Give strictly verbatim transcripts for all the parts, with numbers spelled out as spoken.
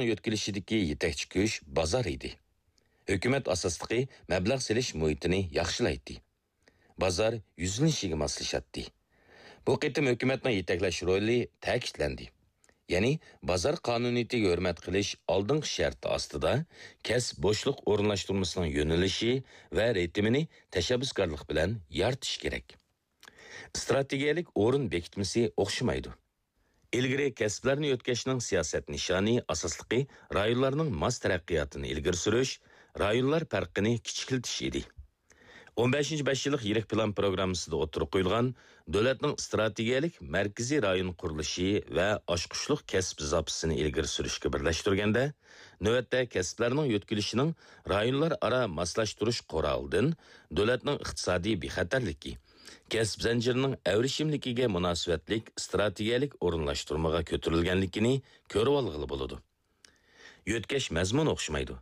يۆتكىلىشىدىكى يېتەكچى كۈچ بازار ئىدى. ھۆكۈمەت ئاساسلىقى مەبلەغ سېلىش مۇھىتىنى ياخشىلايتتى. بازار يۈزلىنىشىگە ماسلىشاتتى. بۇ قېتىم ھۆكۈمەتنىڭ يېتەكلەش رولى تەكىتلەندى. يەنى بازار قانۇنىيىتىگە ھۆرمەت قىلىش ئالدىنقى شەرتى ئاستىدا كەسىپ بوشلۇق ئورۇنلاشتۇرمىسىنىڭ يۆنىلىشى ۋە رىتىمىنى تەشەببۇسكارلىق بىلەن يارىتىش كېرەك. ئىستراتېگىيەلىك ئورۇن بېكىتمىسى ئوخشىمايدۇ. ئىلگىرى كەسىپلەرنى يۆتكەشنىڭ سىياسەت نىشانى ئاساسلىقى رايونلارنىڭ ماس تەرەققىياتىنى ئىلگىرى سۈرۈش، رايونلار پەرقىنى كىچىكلىتىش ئىدى. ئون بەشىنچى بەش يىللىق يىرىك پىلان پروگراممىسىدا ئوتتۇرىغا قويۇلغان دۆلەتنىڭ ئىستراتېگىيەلىك مەركىزىي رايون قۇرۇلۇشى ۋە ئاچقۇچلۇق كەسىپ زاپىسىنى ئىلگىرى سۈرۈشكە بىرلەشتۈرگەندە، نۆۋەتتە كەسىپلەرنىڭ يۆتكىلىشىنىڭ رايونلار ئارا ماسلاشتۇرۇش قورالىدىن دۆلەتنىڭ ئىقتىسادىي بىخەتەرلىكى، كەسىپ زەنجىرىنىڭ ئەۋرىشىملىكىگە مۇناسىۋەتلىك ئىستراتېگىيەلىك ئورۇنلاشتۇرمىغا كۆتۈرۈلگەنلىكىنى كۆرۈۋالغىلى بولىدۇ. يۆتكەش مەزمۇنى ئوخشىمايدۇ.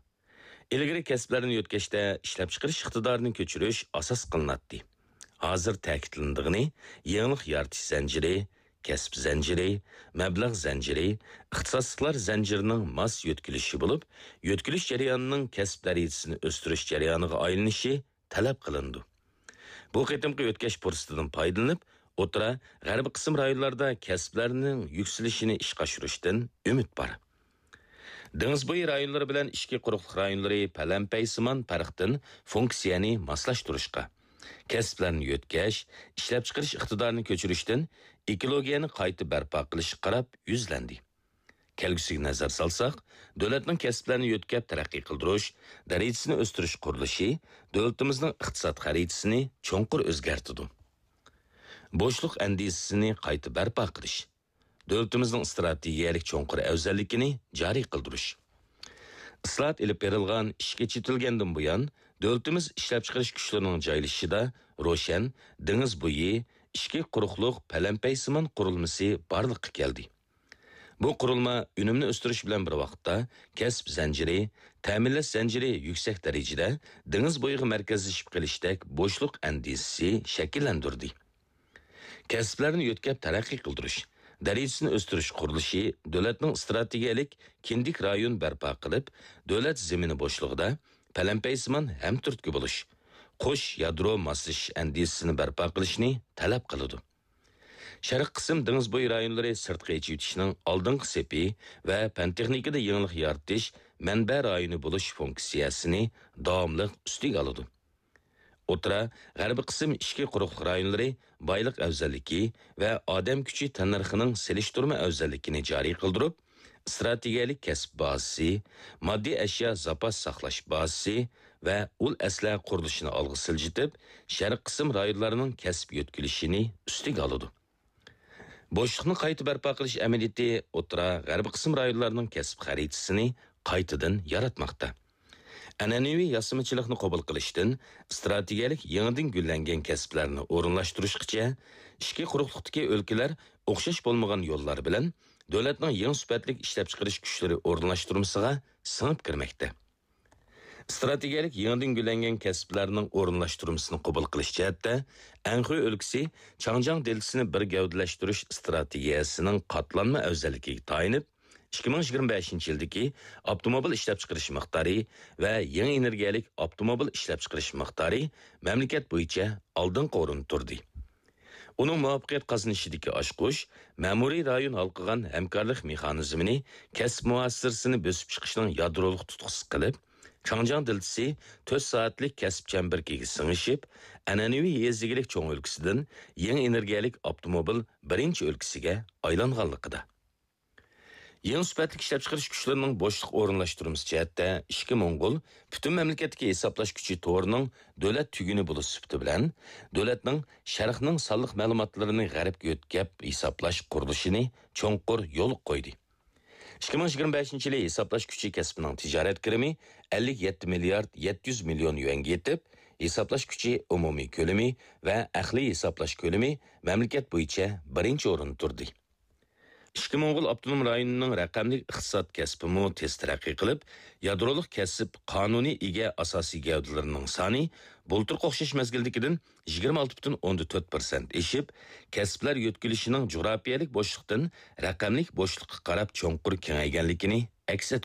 ئىلگىرى كەسىپلەرنى يۆتكەشتە ئىشلەپچىقىرىش ئىقتىدارىنى كۆچۈرۈش ئاساس قىلىناتتى. ھازىر تەكىتلىنىدىغىنى يېڭىلىق يارىتىش زەنجىرى، كەسىپ زەنجىرى، مەبلەغ زەنجىرى، ئىختىساسلىقلار زەنجىرىنىڭ ماس يۆتكىلىشى بولۇپ، يۆتكىلىش جەريانىنىڭ كەسىپ دەرىجىسىنى ئۆستۈرۈش جەريانىغا ئايلىنىشى تەلەپ قىلىنىدۇ. بۇ قېتىمقى يۆتكەش پۇرسىتىدىن پايدىلىنىپ، ئوتتۇرا، غەربىي قىسىم رايونلاردا كەسىپلەرنىڭ يۈكسىلىشىنى ئىشقا ئاشۇرۇشتىن ئۈمىد بار. دېڭىز بويى رايونلىرى بىلەن ئىچكى قۇرۇقلۇق رايونلىرى پەلەمپەيسىمان پەرقتىن فۇنكسىيەنى ماسلاشتۇرۇشقا، كەسىپلەرنى يۆتكەش، ئىشلەپچىقىرىش ئىقتىدارىنى كۆچۈرۈشتىن ئېكولوگىيەنى قايتا بەرپا قىلىشقا قاراپ يۈزلەندى. كەلگۈسىگە نەزەر سالساق، دۆلەتنىڭ كەسىپلەرنى يۆتكەپ تەرەققىي قىلدۇرۇش، دەرىجىسىنى ئۆستۈرۈش قۇرۇلۇشى دۆلىتىمىزنىڭ ئىقتىساد خەرىتىسىنى چوڭقۇر ئۆزگەرتىدۇ. بوشلۇق ئەندىزىسىنى قايتا بەرپا قىلىش، دۆلىتىمىزنىڭ ئىستراتېگىيەلىك چوڭقۇر ئەۋزەللىكىنى جارى قىلدۇرۇش. ئىسلاھات ئېلىپ بېرىلغان، ئىشىكى چېتىلگەندىن بۇيان، دۆلىتىمىز ئىشلەپچىقىرىش كۈچلىرىنىڭ جايلىشىشىدا روشەن دېڭىز بويى، ئىچكى قۇرۇقلۇق، پەلەمپەيسىمان قۇرۇلمىسى بارلىققا كەلدى. بۇ قۇرۇلما ئۈنۈمنى ئۆستۈرۈش بىلەن بىر ۋاقىتتا، كەسىپ زەنجىرى، تەمىنلەش زەنجىرى يۈكسەك دەرىجىدە دېڭىز بويىغا مەركەزلىشىپ قېلىشتەك بوشلۇق ئەندىزىسى شەكىللەندۈردى. كەسىپلەرنى يۆتكەپ تەرەققىي قىلدۇرۇش، دەرىجىسىنى ئۆستۈرۈش قۇرۇلۇشى دۆلەتنىڭ ئىستراتېگىيەلىك كىندىك رايون بەرپا قىلىپ، دۆلەت زېمىنى بوشلۇقىدا پەلەمپەيسىمان ھەمتۈرتكە بولۇش، قوش يادرو ماسلىشىش ئەندىزىسىنى بەرپا قىلىشنى تەلەپ قىلىدۇ. شەرقىي قىسىم دېڭىز بويى رايونلىرى سىرتقا ئېچىۋېتىشنىڭ ئالدىنقى سېپى ۋە پەن-تېخنىكىدا يېڭىلىق يارىتىش مەنبە رايونى بولۇش فۇنكسىيەسىنى داۋاملىق ئۈستىگە ئالىدۇ. ئوتتۇرا، غەربىي قىسىم ئىچكى قۇرۇقلۇق رايونلىرى بايلىق ئەۋزەللىكى ۋە ئادەم كۈچى تەننەرخىنىڭ سېلىشتۇرما ئەۋزەللىكىنى جارى قىلدۇرۇپ، ئىستراتېگىيەلىك كەسىپ بازىسى، ماددىي ئەشيا زاپاس ساقلاش بازىسى ۋە ئۇل ئەسلىھە قۇرۇلۇشىنى ئالغا سىلجىتىپ، شەرقىي قىسىم رايونلارنىڭ كەسىپ يۆتكىلىشىنى ئۈستىگە ئالىدۇ. بوشلۇقنى قايتا بەرپا قىلىش ئەمەلىيىتى ئوتتۇرا، غەربىي قىسىم رايونلارنىڭ كەسىپ خەرىتىسىنى قايتىدىن ياراتماقتا. ئەنئەنىۋى ياسىمىچىلىقنى قوبۇل قىلىشتىن ئىستراتېگىيەلىك يېڭىدىن گۈللەنگەن كەسىپلەرنى ئورۇنلاشتۇرۇشقىچە، ئىچكى قۇرۇقلۇقتىكى ئۆلكىلەر ئوخشاش بولمىغان يوللار بىلەن دۆلەتنىڭ يېڭى سۈپەتلىك ئىشلەپچىقىرىش كۈچلىرى ئورۇنلاشتۇرمىسىغا سىڭىپ كىرمەكتە. ئىستراتېگىيەلىك يېڭىدىن گۈللەنگەن كەسىپلەرنىڭ ئورۇنلاشتۇرمىسىنى قوبۇل قىلىش جەھەتتە، ئەنخۇي ئۆلكىسى چاڭجياڭ دېلتىسىنى بىر گەۋدىلەشتۈرۈش ئىستراتېگىيەسىنىڭ قاتلانما ئەۋزەللىكىگە تايىنىپ، ئىككى مىڭ يىگىرمە بەشىنچى يىلدىكى ئاپتوموبىل ئىشلەپچىقىرىش مىقدارى ۋە يېڭى ئېنېرگىيەلىك ئاپتوموبىل ئىشلەپچىقىرىش مىقدارى مەملىكەت بويىچە ئالدىنقى ئورۇندا تۇردى. ئۇنىڭ مۇۋەپپەقىيەت قازىنىشىدىكى ئاچقۇچ، مەمۇرىي رايون ھالقىغان ھەمكارلىق مېخانىزمىنى كەسىپ مۇھاسىرىسىنى بۆسۈپ چىقىشنىڭ يادرولۇق تۇتقىسى قىلىپ، چاڭجياڭ دېلتىسى تۆت سائەتلىك كەسىپ چەمبىرىكىگە سىڭىشىپ، ئەنئەنىۋى يېزا ئىگىلىك چوڭ ئۆلكىسىدىن يېڭى ئېنېرگىيەلىك ئاپتوموبىل بىرىنچى ئۆلكىسىگە ئايلانغانلىقىدا. يېڭى سۈپەتلىك ئىشلەپچىقىرىش كۈچلىرىنىڭ بوشلۇق ئورۇنلاشتۇرمىسى جەھەتتە ئىچكى موڭغۇل پۈتۈن مەملىكەتتىكى ھېسابلاش كۈچى تورىنىڭ دۆلەت تۈگۈنى بولۇش سۈپىتى بىلەن، دۆلەتنىڭ شەرقنىڭ سانلىق مەلۇماتلىرىنى غەربكە يۆتكەپ ھېسابلاش قۇرۇلۇشىنى چوڭقۇر يولغا قويدى. ئىككى مىڭ يىگىرمە بەشىنچى يىلى ھېسابلاش كۈچى كەسپىنىڭ تىجارەت كىرىمى ئەللىك يەتتە مىليارد يەتتە يۈز مىليون يۈەنگە يېتىپ، ھېسابلاش كۈچى ئومۇمىي كۆلىمى ۋە ئەقلىي ھېسابلاش كۆلىمى مەملىكەت بويىچە بىرىنچى ئورۇندا تۇردى. ئىچكى موڭغۇل ئاپتونوم رايونىنىڭ رەقەملىك ئىقتىساد كەسپىمۇ تېز تەرەققىي قىلىپ، يادرولۇق كەسىپ قانۇنىي ئىگە ئاساسىي گەۋدىلىرىنىڭ سانى بۇلتۇرقى ئوخشاش مەزگىلدىكىدىن يىگىرمە ئالتە پۈتۈن ئوندىن تۆت پىرسەنت ئېشىپ، كەسىپلەر يۆتكىلىشىنىڭ جۇغراپىيەلىك بوشلۇقتىن رەقەملىك بوشلۇققا قاراپ چوڭقۇر كېڭەيگەنلىكىنى ئەكس ئەتكۈزىدۇ.